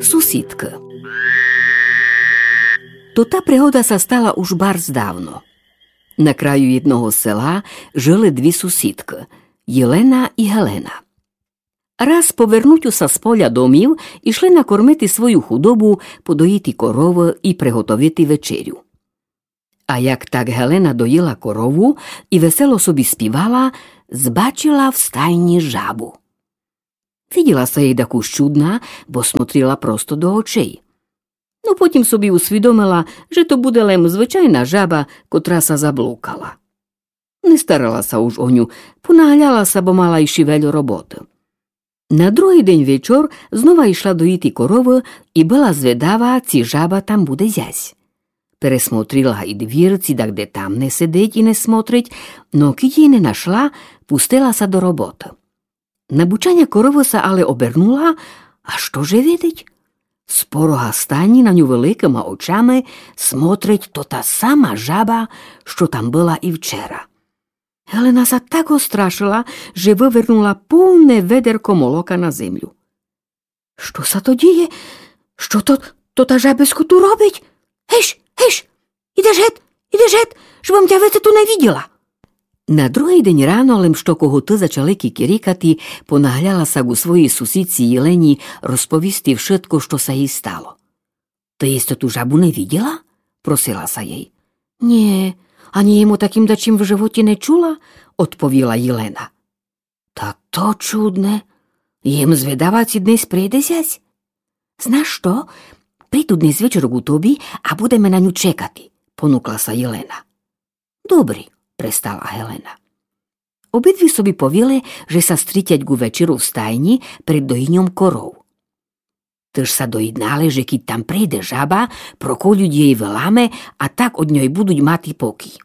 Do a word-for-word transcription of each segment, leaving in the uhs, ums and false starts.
Сусідкы. Тота пригода ся стала уж барз давно. На краю єдного села жыли дві сусідкы — Єлена і Гелена. Раз по вернутю ся з поля домів ішли накормити свою худобу, подоїти коровы і приготовити вечерю. А як так Гелена доїла корову і весело собі співала, збачила в стайні жабу. Виділа ся єй дакус чудна, бо смотрила просто до очей. Но потім собі усвідомила, же то буде лем звычайна жаба, котра ся заблукала. Не старала ся уж о ню, понагляла ся, бо мала іщи вельо роботы. На другый день вечор знова ішла доїти коровы і была зведава, ци жаба там буде зясь. Пересмотрила і двір, ци дагде там не сидить і не смотрить, но кідь єй не нашла, пустила ся до роботы. На бучаня коровы ся але обернула, а што же видить? З порога стайні на ню великыма очами смотрить тота сама жаба, што там была і вчера. Гелена ся так острашила, же вывернула повне ведерко молока на землю. Што ся то діє? Што то, то та жабисько ту робить? Геш, геш! Ідеш гет, ідеш гет, жебым тя веце ту не виділа. На другый день рано, лем што когуты зачали кікірікати, понагляла ся ґу своїй сусідці Єлені розповісти вшытко, што ся єй стало. Ты єсь тоту жабу не виділа? — просила ся єй. Нє, анї єм о такім дачім в животі не чула — одповіла Єлена. Та то чудне. Єм зведава, ци днесь прийде зясь. Знаш што? Прийду днесь вечор ґу тобі, а будеме на ню чекати — понукла ся Єлена. Добрі — пристала Гелена. Обидві собі повіли, же ся стрітять ґу вечеру в стайні перед доїньом коров. Тыж ся доєднали, же кідь там прийде жаба, проколють єй вилами, а так од ньой будуть мати покій.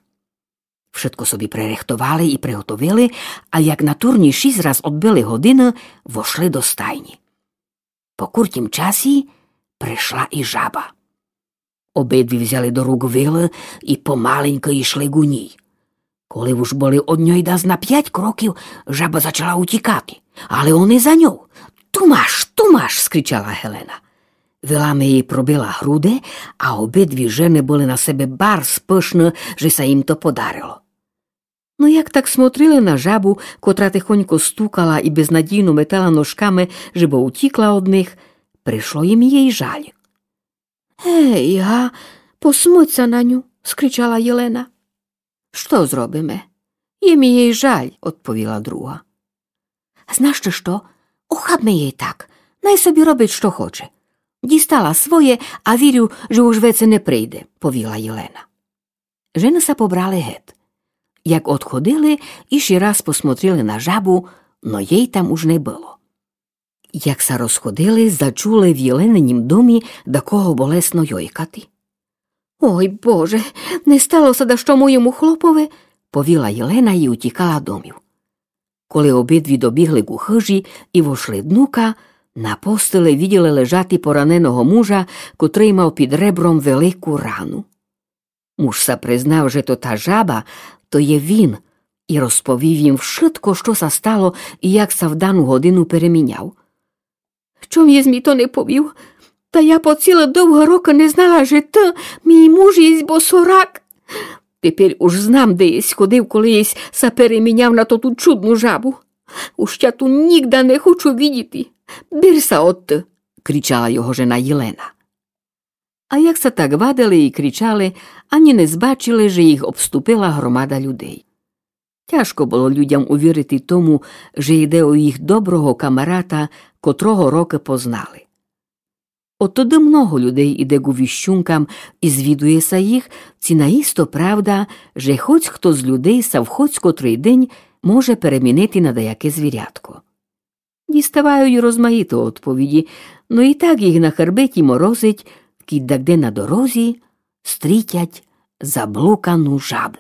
Вшытко собі пририхтовали і приготовили, а як на турні шіст раз одбили годины, вошли до стайні. По куртім часі пришла і жаба. Обидві взяли до рук вилы і помаленькы ішли ґу ній. Коли уж были од ньой дас на пять кроків, жаба зачала утікати, але они за ньов. Ту маш, ту маш! — скричала Гелена. Вилами єй пробила груды, а обидві жены были на себе барз пышны, же ся їм то подарило. Но як так смотрили на жабу, котра тихонько стукала і безнадійно метала ножками, жебы утікла од них, пришло їм єй жаль. Гей, га, посмоть ся на ню! — скричала Єлена. Што зробиме? Єм єй жаль — одповіла друга. Знаш ты што? Охабме єй так, най собі робить, што хоче. Дістала своє, а вірю, же уж веце не прийде — повіла Єлена. Жены ся побрали гет. Як одходили, іщи раз посмотрили на жабу, но єй там уж не было. Як ся розходили, зачули в Єленинім домі дакого болесно йойкати. Ой, Боже, не стало ся дашто моєму хлопови? — повіла Єлена і утікала домів. Коли обидві добігли ґу хыжі і вошли днука, на постели виділи лежати пораненого мужа, котрый мав під ребром велику рану. Муж ся признав, же то та жаба, то є він, і розповів їм вшытко, што ся стало і як ся в дану годину переміняв. Чом єсь мі то не повів? Та я по цілы довгы рокы не знала, же ты, мій муж, єсь босорак. Теперь уж знам, де єсь ходив, коли єсь ся переміняв на тоту чудну жабу. Уж тя ту нїґда не хочу видіти. Бир ся одты, — кричала його жена Єлена. А як ся так вадили і кричали, анї не збачили, же їх обступила громада людей. Тяжко было людям увірити тому, же йде о їх доброго камарата, котрого рокы познали. От тогды много людей іде ґу віщункам і звідує ся їх, ци наісто правда, же хоць хто з людей ся в хоць котрый день може перемінити на даяке звірятко. Діставають розмаїты одповіді, но і так їх на хербеті морозить, кідь дагде на дорозі стрітять заблукану жабу.